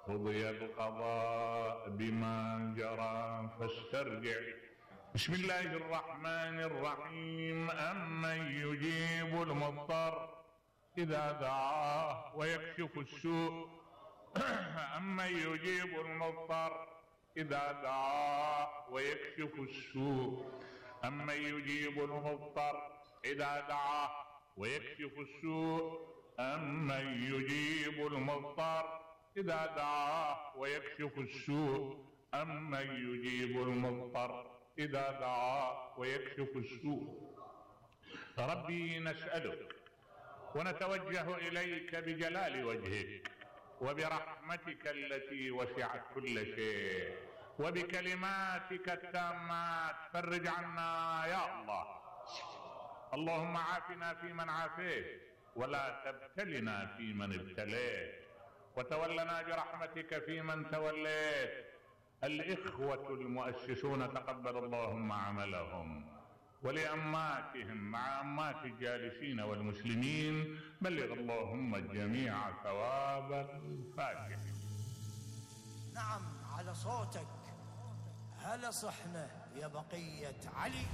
قضي القضاء بما جرى فاسترجع. بسم الله الرحمن الرحيم. أمن يجيب المضطر إذا دعاه ويكشف السوء. أمن يجيب المضطر إذا دعاه ويكشف السوء. أمن يجيب المضطر إذا دعاه ويكشف السوء. أمن يجيب المضطر إذا دعاه ويكشف السوء. أمن يجيب المضطر إذا دعاه ويكشف السوء. ربي نسألك ونتوجه إليك بجلال وجهك وبرحمتك التي وسعت كل شيء وبكلماتك التامات، فرج عنا يا الله. اللهم عافنا فيمن عافيت ولا تبتلنا فيمن ابتليت، وتولنا برحمتك فيمن توليت. الإخوة المؤسسون تقبل اللهم عملهم، ولأماتهم مع أمات الجالسين والمسلمين بلغ اللهم الجميع ثواب الفاتح. نعم على صوتك. هلا صحنا يا بقية علي.